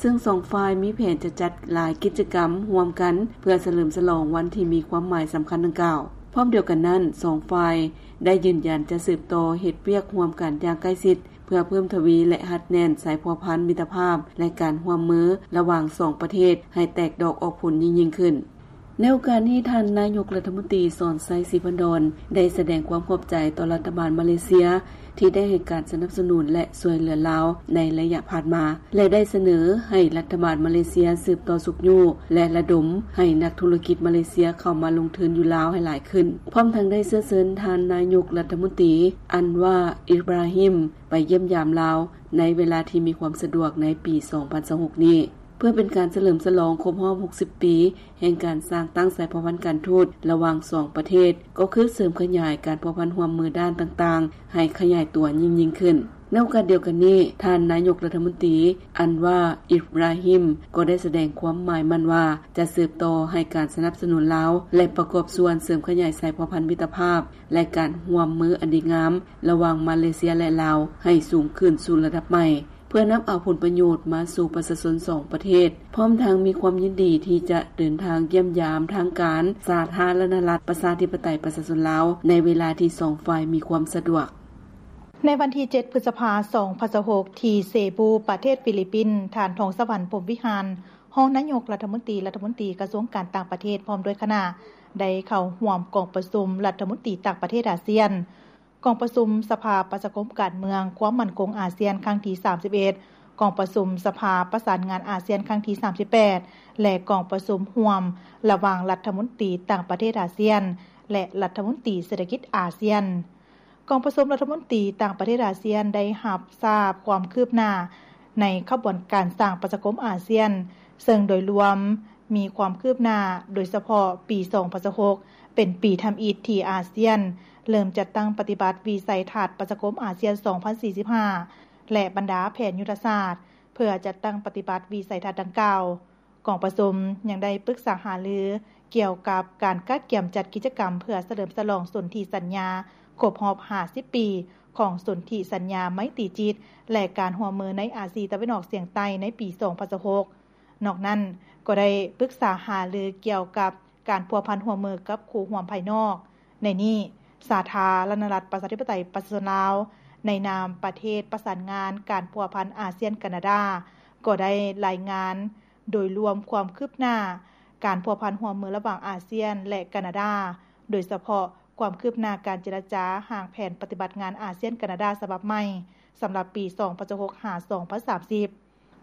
ຊຶ່ງສອງຝ່າຍມີແຜນຈະຈັດຫຼາຍກິດຈະກຳຮ່ວມກັນ ເພື່ອສະເຫຼີມສະຫຼອງວັນທີ່ມີຄວາມໝາຍສຳຄັນດັ່ງກ່າວ. ພ້ອມດຽວກັນນັ້ນ, ສອງຝ່າຍໄດ້ຢືນຢັນຈະສືບຕໍ່ເຮັດວຽກຮ່ວມກັນຢ່າງໃກ້ຊິດ ເພື່ອເພີ່ມທະວີ ແລະ ຮັດແໜ້ນສາຍພົວພັນມິດຕະພາບ ແລະ ການຮ່ວມມືລະຫວ່າງສອງປະເທດໃຫ້ແຕກດອກອອກຜົນຍິ່ງໆຂຶ້ນ. ໃນໂອກາດນີ້, ທ່ານນາຍົກລັດຖະມົນຕີ ສອນໄຊ ສີພັນດອນ ໄດ້ສະແດງຄວາມຂອບໃຈຕໍ່ລັດຖະບານມາເລເຊຍ ທີ່ໄດ້ໃຫ້ການສະໜັບສະໜູນ ແລະ ຊ່ວຍເຫຼືອລາວໃນໄລຍະຜ່ານມາ ແລະ ໄດ້ສະເໜີໃຫ້ລັດຖະບານມາເລເຊຍສືບຕໍ່ຊຸກຍູ້ ແລະ ລະດົມໃຫ້ນັກທຸລະກິດມາເລເຊຍເຂົ້າມາລົງທຶນຢູ່ລາວໃຫ້ຫຼາຍຂຶ້ນ. ພ້ອມທັງໄດ້ເຊື້ອເຊີນທ່ານນາຍົກລັດຖະມົນຕີ ອັນວາ ອິບຣາຮິມ ໄປຢ້ຽມຢາມລາວໃນເວລາທີ່ມີຄວາມສະດວກໃນປີສອງພັນຊາວຫົກນີ້ ເພື່ອເປັນການສະເຫຼີມສະຫຼອງຄົບຮອບຫົກສິບປີ ແຫ່ງການສ້າງຕັ້ງສາຍພົວພັນການທູດລະຫວ່າງສອງປະເທດ, ກໍຄືເສີມຂະຫຍາຍການພົວພັນຮ່ວມມືດ້ານຕ່າງໆ ໃຫ້ຂະຫຍາຍຕົວຍິ່ງໆຂຶ້ນ. ໃນໂອກາດດຽວກັນນີ້, ທ່ານນາຍົກລັດຖະມົນຕີ ອັນວາ ອິບຣາຮິມ ກໍໄດ້ສະແດງຄວາມໝາຍໝັ້ນວ່າ ຈະສືບຕໍ່ໃຫ້ການສະໜັບສະໜູນລາວ ແລະ ປະກອບສ່ວນເສີມຂະຫຍາຍສາຍພົວພັນມິດຕະພາບ ແລະ ການຮ່ວມມືອັນດີງາມລະຫວ່າງມາເລເຊຍ ແລະ ລາວ ໃຫ້ສູງຂຶ້ນສູ່ລະດັບໃໝ່ ເພື່ອນຳເອົາຜົນປະໂຫຍດມາສູ່ປະຊາຊົນສອງປະເທດ, ພ້ອມທັງມີຄວາມຍິນດີທີ່ຈະເດີນທາງຢ້ຽມຢາມທາງການສາທາລະນະລັດ ປະຊາທິປະໄຕ ປະຊາຊົນລາວ ໃນເວລາທີ່ສອງຝ່າຍມີຄວາມສະດວກ. ໃນວັນທີເຈັດ ພຶດສະພາ ສອງພັນຊາວຫົກ ທີ່ເຊບູ ປະເທດຟີລິບປິນ, ທ່ານ ທອງສະຫວັນ ພົມວິຫານ ຮອງນາຍົກລັດຖະມົນຕີ, ລັດຖະມົນຕີກະຊວງການຕ່າງປະເທດ ພ້ອມດ້ວຍຄະນະ ໄດ້ເຂົ້າຮ່ວມກອງປະຊຸມລັດຖະມົນຕີຕ່າງປະເທດອາຊຽນ, ກອງປະຊຸມສະພາປະຊາຄົມການເມືອງຄວາມໝັ້ນຄົງອາຊຽນຄັ້ງທີສາມສິບເອັດ, ກອງປະຊຸມສະພາປະສານງານອາຊຽນຄັ້ງທີສາມສິບແປດ ແລະ ກອງປະຊຸມຮ່ວມລະຫວ່າງລັດຖະມົນຕີຕ່າງປະເທດອາຊຽນ ແລະ ລັດຖະມົນຕີເສດຖະກິດອາຊຽນ. ກອງປະຊຸມລັດຖະມົນຕີຕ່າງປະເທດອາຊຽນໄດ້ຮັບຊາບຄວາມຄືບໜ້າໃນຂະບວນການສ້າງປະຊາຄົມອາຊຽນ, ເຊິ່ງໂດຍລວມ ມີຄວາມຄືບໜ້າ, ໂດຍສະເພາະປີສອງພັນຊາວຫົກ ເປັນປີທຳອິດທີ່ອາຊຽນເລີ່ມຈັດຕັ້ງປະຕິບັດວິໄສທັດປະຊາຄົມອາຊຽນສອງພັນສີ່ສິບຫ້າ ແລະ ບັນດາແຜນຍຸດທະສາດ ເພື່ອຈັດຕັ້ງປະຕິບັດວິໄສທັດດັ່ງກ່າວ. ກອງປະຊຸມຍັງໄດ້ປຶກສາຫາລືກ່ຽວກັບການກະກຽມຈັດກິດຈະກຳເພື່ອສະເຫຼີມສະຫຼອງສົນທິສັນຍາຄົບຮອບຫ້າສິບປີຂອງສົນທິສັນຍາໄມຕີຈິດ ແລະ ການຮ່ວມມືໃນອາຊີຕາເວັນອອກສຽງໃຕ້ໃນປີສອງພັນຊາວຫົກ. ນອກນັ້ນກໍໄດ້ປຶກສາຫາລືກ່ຽວກັບການພົວພັນຮ່ວມມືກັບຄູ່ຮ່ວມພາຍນອກ. ໃນນີ້, ສາທາລະນະລັດປະຊາທິປະໄຕປະຊາຊົນລາວ ໃນນາມປະເທດປະສານງານການພົວພັນອາຊຽນ-ການາດາ ກໍໄດ້ລາຍງານໂດຍລວມຄວາມຄືບໜ້າການພົວພັນຮ່ວມມືລະຫວ່າງອາຊຽນ ແລະ ການາດາ, ໂດຍສະເພາະຄວາມຄືບໜ້າການເຈລະຈາຮ່າງແຜນປະຕິບັດງານອາຊຽນ-ການາດາສະບັບໃໝ່ ສຳລັບປີສອງພັນຊາວຫົກ ຫາ ສອງພັນສາມສິບ.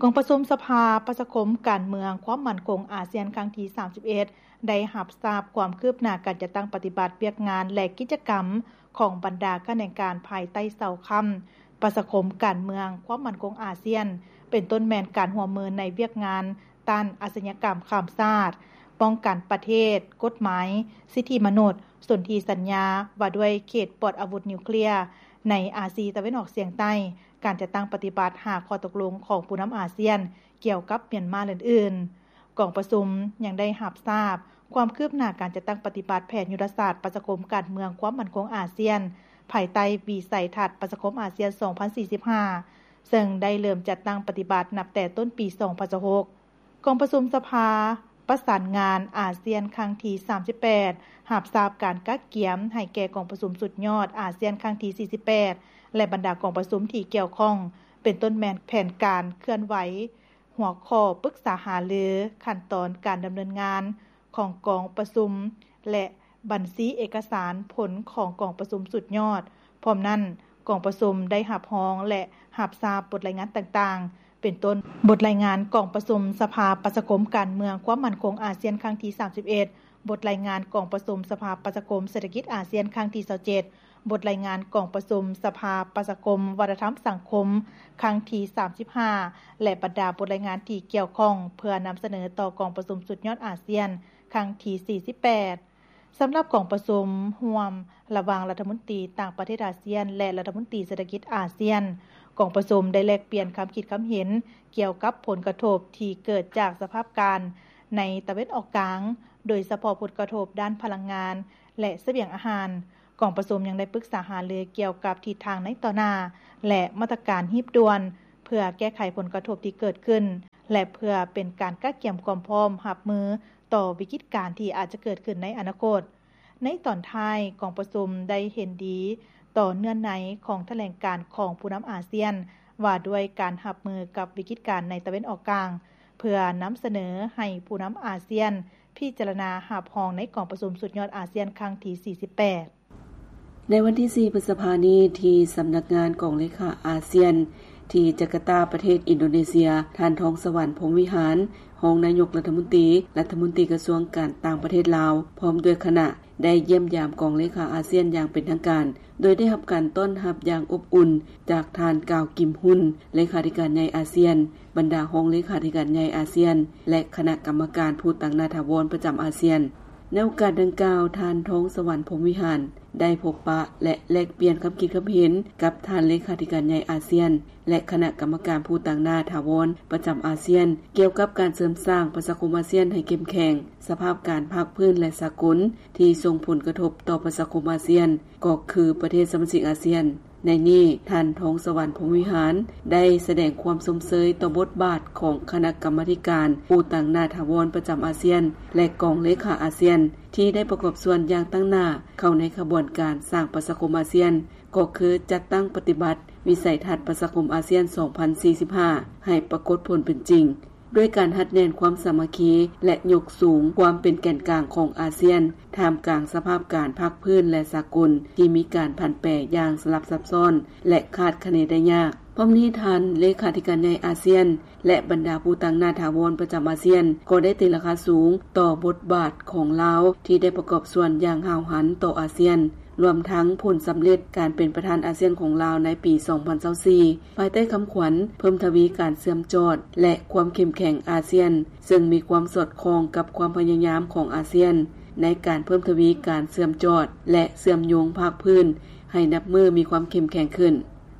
ກອງປະຊຸມສະພາປະຊາຄົມການເມືອງຄວາມໝັ້ນຄົງອາຊຽນຄັ້ງທີສາມສິບເອັດ ໄດ້ຮັບຊາບຄວາມຄືບໜ້າການຈັດຕັ້ງປະຕິບັດວຽກງານ ແລະ ກິດຈະກຳຂອງບັນດາຂະແໜງການພາຍໃຕ້ເສົາຄ້ຳປະຊາຄົມການເມືອງຄວາມໝັ້ນຄົງອາຊຽນ, ເປັນຕົ້ນແມ່ນການຮ່ວມມືໃນວຽກງານຕ້ານອາຊະຍາກຳຂ້າມຊາດ, ປ້ອງກັນປະເທດ, ກົດໝາຍ, ສິດທິມະນຸດ, ສົນທິສັນຍາວ່າດ້ວຍເຂດປອດອາວຸດນິວເຄລຍໃນອາຊີຕາເວັນອອກສຽງໃຕ້, ການຈັດຕັ້ງປະຕິບັດຫ້າຂໍ້ຕົກລົງຂອງຜູ້ນຳອາຊຽນກ່ຽວກັບມຽນມາ ແລະ ອື່ນໆ. ກອງປະຊຸມຍັງໄດ້ຮັບຊາບຄວາມຄືບໜ້າການຈັດຕັ້ງປະຕິບັດແຜນຍຸດທະສາດປະຊາຄົມການເມືອງຄວາມໝັ້ນຄົງອາຊຽນ ພາຍໃຕ້ວິໄສທັດປະຊາຄົມອາຊຽນສອງພັນສີ່ສິບຫ້າ ເຊິ່ງໄດ້ເລີ່ມຈັດຕັ້ງປະຕິບັດນັບແຕ່ຕົ້ນປີສອງພັນຊາວຫົກ. ກອງປະຊຸມສະພາປະສານງານອາຊຽນຄັ້ງທີສາມສິບແປດ ຮັບຊາບການກະກຽມໃຫ້ແກ່ກອງປະຊຸມສຸດຍອດອາຊຽນຄັ້ງທີສີ່ສິບແປດ ແລະ ບັນດາກອງປະຊຸມທີ່ກ່ຽວຂ້ອງ, ເປັນຕົ້ນແມ່ນແຜນການເຄື່ອນໄຫວ, ຫົວຂໍ້ປຶກສາຫາລື, ຂັ້ນຕອນການດຳເນີນງານຂອງກອງປະຊຸມ ແລະ ບັນຊີເອກະສານຜົນຂອງກອງປະຊຸມສຸດຍອດ. ພ້ອມນັ້ນ, ກອງປະຊຸມໄດ້ຮັບຮອງ ແລະ ຮັບຊາບບົດລາຍງານຕ່າງໆ ເປັນຕົ້ນ ບົດລາຍງານກອງປະຊຸມສະພາປະຊາຄົມການເມືອງຄວາມໝັ້ນຄົງອາຊຽນຄັ້ງທີສາມສິບເອັດ, ບົດລາຍງານກອງປະຊຸມສະພາປະຊາຄົມເສດຖະກິດອາຊຽນຄັ້ງທີຊາວເຈັດ, ບົດລາຍງານກອງປະຊຸມສະພາປະຊາຄົມວັດທະນະທຳສັງຄົມຄັ້ງທີສາມສິບຫ້າ ແລະ ບັນດາບົດລາຍງານທີ່ກ່ຽວຂ້ອງ ເພື່ອນຳສະເໜີຕໍ່ກອງປະຊຸມສຸດຍອດອາຊຽນຄັ້ງທີສີ່ສິບແປດ. ສຳລັບກອງປະຊຸມຮ່ວມລະຫວ່າງລັດຖະມົນຕີຕ່າງປະເທດອາຊຽນ ແລະ ລັດຖະມົນຕີເສດຖະກິດອາຊຽນ, ກອງປະຊຸມໄດ້ແລກປ່ຽນຄຳຄິດຄຳເຫັນກ່ຽວກັບຜົນກະທົບທີ່ເກີດຈາກສະພາບການໃນຕາເວັນອອກກາງ, ໂດຍສະເພາະຜົນກະທົບດ້ານພະລັງງານ ແລະ ສະບຽງອາຫານ. ກອງປະຊຸມຍັງໄດ້ປຶກສາຫາລືກ່ຽວກັບທິດທາງໃນຕໍ່ໜ້າ ແລະ ມາດຕະການຮີບດ່ວນ ເພື່ອແກ້ໄຂຜົນກະທົບທີ່ເກີດຂຶ້ນ ແລະ ເພື່ອເປັນການກະກຽມຄວາມພ້ອມຮັບມືຕໍ່ວິກິດການທີ່ອາດຈະເກີດຂຶ້ນໃນອະນາຄົດ. ໃນຕອນທ້າຍ, ກອງປະຊຸມໄດ້ເຫັນດີຕໍ່ເນື້ອໃນຂອງຖະແຫຼງການຂອງຜູ້ນຳອາຊຽນ ວ່າດ້ວຍການຮັບມືກັບວິກິດການໃນຕາເວັນອອກກາງ, ເພື່ອນຳສະເໜີໃຫ້ຜູ້ນຳອາຊຽນພິຈາລະນາຮັບຮອງໃນກອງປະຊຸມສຸດຍອດອາຊຽນຄັ້ງທີສີ່ສິບແປດ. ໃນວັນທີສີ່ ພຶດສະພານີ້ ທີ່ສຳນັກງານກອງເລຂາອາຊຽນ ທີ່ຈາກາຕາ ປະເທດອິນໂດເນເຊຍ, ທ່ານ ທອງສະຫວັນ ພົມວິຫານ ຮອງນາຍົກລັດຖະມົນຕີ, ລັດຖະມົນຕີກະຊວງການຕ່າງປະເທດລາວ ພ້ອມດ້ວຍຄະນະ ໄດ້ຢ້ຽມຢາມກອງເລຂາອາຊຽນຢ່າງເປັນທາງການ, ໂດຍໄດ້ຮັບການຕ້ອນຮັບຢ່າງອົບອຸ່ນຈາກທ່ານ ກາວ ກິມຮຸນ ເລຂາທິການໃຫຍ່ອາຊຽນ, ບັນດາຮອງເລຂາທິການໃຫຍ່ອາຊຽນ ແລະ ຄະນະກຳມະການຜູ້ຕາງໜ້າຖາວອນປະຈຳອາຊຽນ. ໃນໂອກາດດັ່ງກ່າວ, ທ່ານ ທອງສະຫວັນ ພົມວິຫານ ໄດ້ພົບປະ ແລະ ແລກປ່ຽນຄຳຄິດຄຳເຫັນກັບທ່ານເລຂາທິການໃຫຍ່ອາຊຽນ ແລະ ຄະນະກຳມະການຜູ້ຕາງໜ້າຖາວອນປະຈຳອາຊຽນ ກ່ຽວກັບການເສີມສ້າງປະຊາຄົມອາຊຽນໃຫ້ເຂັ້ມແຂງ, ສະພາບການພາກພື້ນ ແລະ ສາກົນ ທີ່ສົ່ງຜົນກະທົບຕໍ່ປະຊາຄົມອາຊຽນ ກໍຄືປະເທດສະມາຊິກອາຊຽນ. ໃນນີ້, ທ່ານ ທອງສະຫວັນ ພົມວິຫານ ໄດ້ສະແດງຄວາມຊົມເຊີຍຕໍ່ບົດບາດຂອງຄະນະກຳມາທິການຜູ້ຕາງໜ້າຖາວອນປະຈຳອາຊຽນ ແລະ ກອງເລຂາອາຊຽນ ທີ່ໄດ້ປະກອບສ່ວນຢ່າງຕັ້ງໜ້າເຂົ້າໃນຂະບວນການສ້າງປະຊາຄົມອາຊຽນ, ກໍຄືຈັດຕັ້ງປະຕິບັດວິໄສທັດປະຊາຄົມອາຊຽນສອງພັນສີ່ສິບຫ້າ ໃຫ້ປາກົດຜົນເປັນຈິງ. ດ້ວຍການຮັດແໜ້ນຄວາມສາມັກຄີ ແລະ ຍົກສູງຄວາມເປັນແກນກາງຂອງອາຊຽນ ທ່າມກາງສະພາບການພາກພື້ນ ແລະ ສາກົນ ທີ່ມີການຜັນແປຢ່າງສະຫຼັບຊັບຊ້ອນ ແລະ ຄາດຄະເນໄດ້ຍາກ. ພ້ອມນີ້, ທ່ານເລຂາທິການໃຫຍ່ອາຊຽນ ແລະ ບັນດາຜູ້ຕາງໜ້າຖາວອນປະຈຳອາຊຽນ ກໍໄດ້ຕີລາຄາສູງຕໍ່ບົດບາດຂອງລາວ ທີ່ໄດ້ປະກອບສ່ວນຢ່າງຫ້າວຫັນຕໍ່ອາຊຽນ, ລວມທັງຜົນສຳເລັດການເປັນປະທານອາຊຽນຂອງລາວໃນປີສອງພັນຊາວສີ່ ພາຍໃຕ້ຄຳຂວັນ ເພີ່ມທະວີການເຊື່ອມຈອດ ແລະ ຄວາມເຂັ້ມແຂງອາຊຽນ, ເຊິ່ງມີຄວາມສອດຄ່ອງກັບຄວາມພະຍາຍາມຂອງອາຊຽນ ໃນການເພີ່ມທະວີການເຊື່ອມຈອດ ແລະ ເຊື່ອມໂຍງພາກພື້ນ ໃຫ້ນັບມື້ມີຄວາມເຂັ້ມແຂງຂຶ້ນ.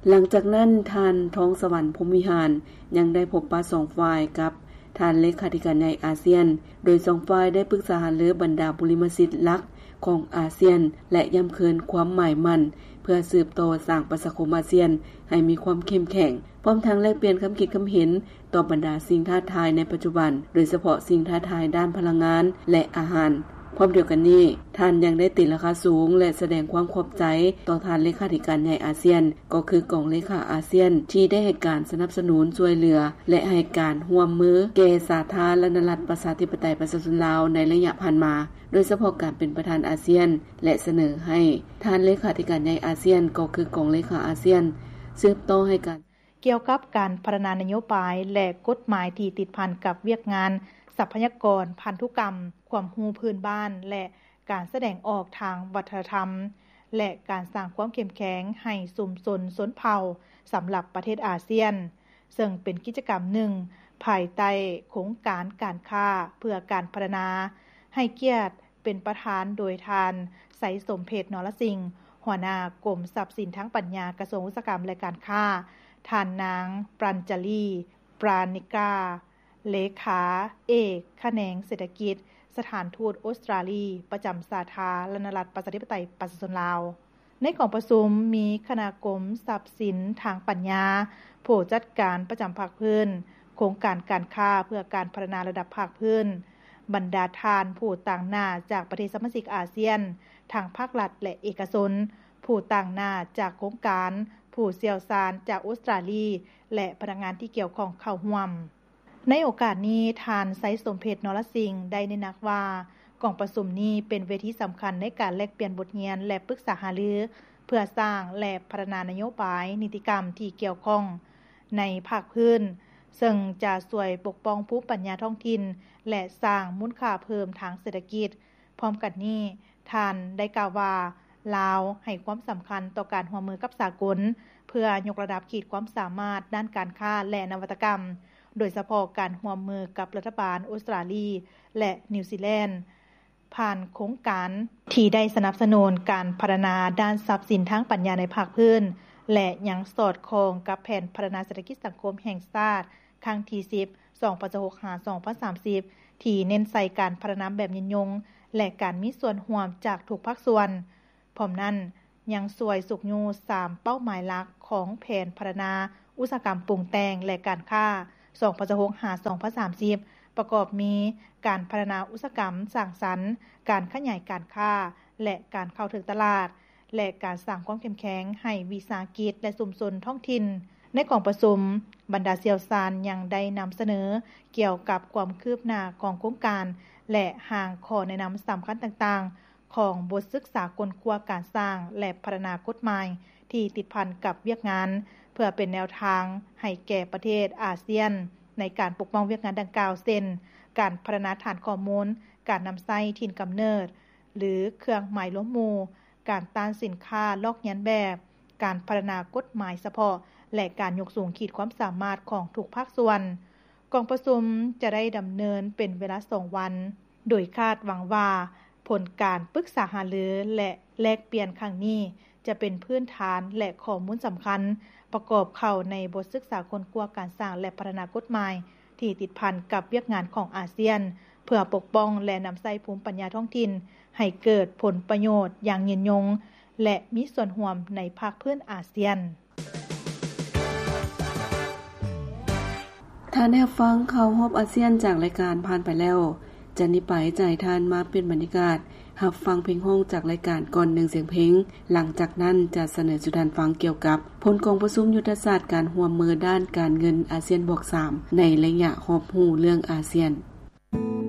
ຫຼັງຈາກນັ້ນ, ທ່ານ ທອງສະຫວັນ ພົມວິຫານ ຍັງໄດ້ພົບປະສອງຝ່າຍກັບ ທ່ານເລຂາທິການໃຫຍ່ອາຊຽນ, ໂດຍສອງຝ່າຍໄດ້ປຶກສາຫາລືບັນດາບຸລິມະສິດຫຼັກຂອງອາຊຽນ ແລະ ຢ້ຳເຄີນຄວາມໝາຍໝັ້ນເພື່ອສືບຕໍ່ສ້າງປະຊາຄົມອາຊຽນໃຫ້ມີຄວາມເຂັ້ມແຂງ, ພ້ອມທັງແລກປ່ຽນຄຳຄິດຄຳເຫັນຕໍ່ບັນດາສິ່ງທ້າທາຍໃນປັດຈຸບັນ, ໂດຍສະເພາະສິ່ງທ້າທາຍດ້ານພະລັງງານ ແລະ ອາຫານ. ພ້ອມດຽວກັນນີ້, ທ່ານຍັງໄດ້ຕີລາຄາສູງ ແລະ ສະແດງຄວາມຂອບໃຈຕໍ່ທ່ານເລຂາທິການໃຫຍ່ອາຊຽນ, ກໍຄືກອງເລຂາອາຊຽນ ທີ່ໄດ້ໃຫ້ການສະໜັບສະໜູນຊ່ວຍເຫຼືອ ແລະ ໃຫ້ການຮ່ວມມືແກ່ສາທາລະນະລັດ ປະຊາທິປະໄຕ ປະຊາຊົນລາວໃນໄລຍະຜ່ານມາ, ໂດຍສະເພາະການເປັນປະທານອາຊຽນ ແລະ ສະເໜີໃຫ້ທ່ານເລຂາທິການໃຫຍ່ອາຊຽນ ກໍຄືກອງເລຂາອາຊຽນ ສືບຕໍ່ໃຫ້ການ ກ່ຽວກັບການພັດທະນານະໂຍບາຍ ແລະ ກົດໝາຍທີ່ຕິດພັນກັບວຽກງານຊັບພະຍາກອນພັນທຸກຳ, ຄວາມຮູ້ພື້ນບ້ານ ແລະ ການສະແດງອອກທາງວັດທະນະທຳ ແລະ ການສ້າງຄວາມເຂັ້ມແຂງໃຫ້ຊຸມຊົນຊົນເຜົ່າສຳລັບປະເທດອາຊຽນ, ເຊິ່ງເປັນກິດຈະກຳໜຶ່ງພາຍໃຕ້ໂຄງການການຄ້າເພື່ອການພັດທະນາ, ໃຫ້ກຽດເປັນປະທານໂດຍທ່ານ ໄຊສົມເພັດ ນໍລະສິງ, ຫົວໜ້າກົມຊັບສິນທາງປັນຍາ ກະຊວງອຸດສາຫະກຳ ແລະ ການຄ້າ, ທ່ານນາງ ປຣັນຈາລີ ປຣານິກາ ເລຂາເອກຂະແໜງເສດຖະກິດ ສະຖານທູດອົດສະຕຣາລີ ປະຈຳສາທາລະນະລັດ ປະຊາທິປະໄຕ ປະຊາຊົນລາວ. ໃນກອງປະຊຸມມີຄະນະກົມຊັບສິນທາງປັນຍາ, ຜູ້ຈັດການປະຈຳພາກພື້ນ, ໂຄງການການຄ້າເພື່ອການພັດທະນາລະດັບພາກພື້ນ, ບັນດາທ່ານຜູ້ຕາງໜ້າຈາກປະເທດສະມາຊິກອາຊຽນ, ທັງພາກລັດ ແລະ ເອກະຊົນ, ຜູ້ຕາງໜ້າຈາກໂຄງການ, ຜູ້ຊ່ຽວຊານຈາກອົດສະຕຣາລີ ແລະ ພະນັກງານທີ່ກ່ຽວຂ້ອງເຂົ້າຮ່ວມ. ໃນໂອກາດນີ້, ທ່ານ ໄຊສົມເພັດ ນໍລະສິງ ໄດ້ເນັ້ນໜັກວ່າ ກອງປະຊຸມນີ້ເປັນເວທີສຳຄັນໃນການແລກປ່ຽນບົດຮຽນ ແລະ ປຶກສາຫາລື ເພື່ອສ້າງ ແລະ ພັດທະນານະໂຍບາຍນິຕິກຳທີ່ກ່ຽວຂ້ອງໃນພາກພື້ນ, ເຊິ່ງຈະຊ່ວຍປົກປ້ອງພູມປັນຍາທ້ອງຖິ່ນ ແລະ ສ້າງມູນຄ່າເພີ່ມທາງເສດຖະກິດ. ພ້ອມກັນນີ້, ທ່ານໄດ້ກ່າວວ່າ ລາວໃຫ້ຄວາມສຳຄັນຕໍ່ການຮ່ວມມືກັບສາກົນ ເພື່ອຍົກລະດັບຂີດຄວາມສາມາດດ້ານການຄ້າ ແລະ ນະວັດຕະກຳ, ໂດຍສະເພາະການຮ່ວມມືກັບລັດຖະບານອົດສະຕຣາລີ ແລະ ນິວຊີແລນ ຜ່ານໂຄງການທີ່ໄດ້ສະໜັບສະໜູນການພັດທະນາດ້ານຊັບສິນທາງປັນຍາໃນພາກພື້ນ ແລະ ຍັງສອດຄ່ອງກັບແຜນພັດທະນາເສດຖະກິດສັງຄົມແຫ່ງຊາດ ຄັ້ງທີສິບ ສອງພັນຊາວຫົກ ຫາ ສອງພັນສາມສິບ ທີ່ເນັ້ນໃສ່ການພັດທະນາແບບຍືນຍົງ ແລະ ການມີສ່ວນຮ່ວມຈາກທຸກພາກສ່ວນ. ພ້ອມນັ້ນ, ຍັງຊ່ວຍຊຸກຍູ້ສາມເປົ້າໝາຍຫຼັກຂອງແຜນພັດທະນາອຸດສາຫະກຳປຸງແຕ່ງ ແລະ ການຄ້າ, ສອງພັນຊາວຫົກ ຫາ ສອງພັນສາມສິບ ປະກອບມີ ການພັດທະນາອຸດສາຫະກຳສ້າງສັນ, ການຂະຫຍາຍການຄ້າ ແລະ ການເຂົ້າເຖິງຕະຫຼາດ ແລະ ການສ້າງຄວາມເຂັ້ມແຂງໃຫ້ວິສາຫະກິດ ແລະ ຊຸມຊົນທ້ອງຖິ່ນ. ໃນກອງປະຊຸມ, ບັນດາຊ່ຽວຊານຍັງໄດ້ນຳສະເໜີກ່ຽວກັບຄວາມຄືບໜ້າຂອງໂຄງການ ແລະ ຮ່າງຂໍ້ແນະນຳສຳຄັນຕ່າງໆ ຂອງບົດສຶກສາຄົ້ນຄວ້າການສ້າງ ແລະ ພັດທະນາກົດໝາຍທີ່ຕິດພັນກັບວຽກງານ ເພື່ອເປັນແນວທາງໃຫ້ແກ່ປະເທດອາຊຽນ ໃນການປົກປ້ອງວຽກງານດັ່ງກ່າວ ເຊັ່ນ ການພັດທະນາຖານຂໍ້ມູນ, ການນຳໃຊ້ຖິ່ນກຳເນີດ ຫຼື ເຄື່ອງໝາຍລວມໝູ່, ການຕ້ານສິນຄ້າລອກລຽນແບບ, ການພັດທະນາກົດໝາຍສະເພາະ ແລະ ການຍົກສູງຂີດຄວາມສາມາດຂອງທຸກພາກສ່ວນ. ກອງປະຊຸມຈະໄດ້ດຳເນີນເປັນເວລາສອງວັນ, ໂດຍຄາດຫວັງວ່າຜົນການປຶກສາຫາລື ແລະ ແລກປ່ຽນຄັ້ງນີ້ ຈະເປັນພື້ນຖານ ແລະ ຂໍ້ມູນສຳຄັນ ປະກອບເຂົ້າໃນບົດສຶກສາຄົ້ນຄວ້າການສ້າງ ແລະ ພັດທະນາກົດໝາຍທີ່ຕິດພັນກັບວຽກງານຂອງອາຊຽນ ເພື່ອປົກປ້ອງ ແລະ ນຳໃຊ້ພູມປັນຍາທ້ອງຖິ່ນໃຫ້ເກີດຜົນປະໂຫຍດຢ່າງຍືນຍົງ ແລະ ມີສ່ວນຮ່ວມໃນພາກພື້ນອາຊຽນ. ທ່ານໄດ້ຮັບຟັງຂ່າວຮອບອາຊຽນຈາກລາຍການຜ່ານໄປແລ້ວ. ຈາກນີ້ໄປຈະໃຫ້ທ່ານມາປ່ຽນບັນຍາກາດ ຮັບຟັງເພງຮ້ອງຈາກລາຍການກ່ອນໜຶ່ງສຽງເພງ. ຫຼັງຈາກນັ້ນຈະສະເໜີສູ່ທ່ານຟັງກ່ຽວກັບຜົນກອງປະຊຸມຍຸດທະສາດການຮ່ວມມືດ້ານການເງິນອາຊຽນບວກສາມ ໃນໄລຍະຮອບຮູ້ເລື່ອງອາຊຽນ.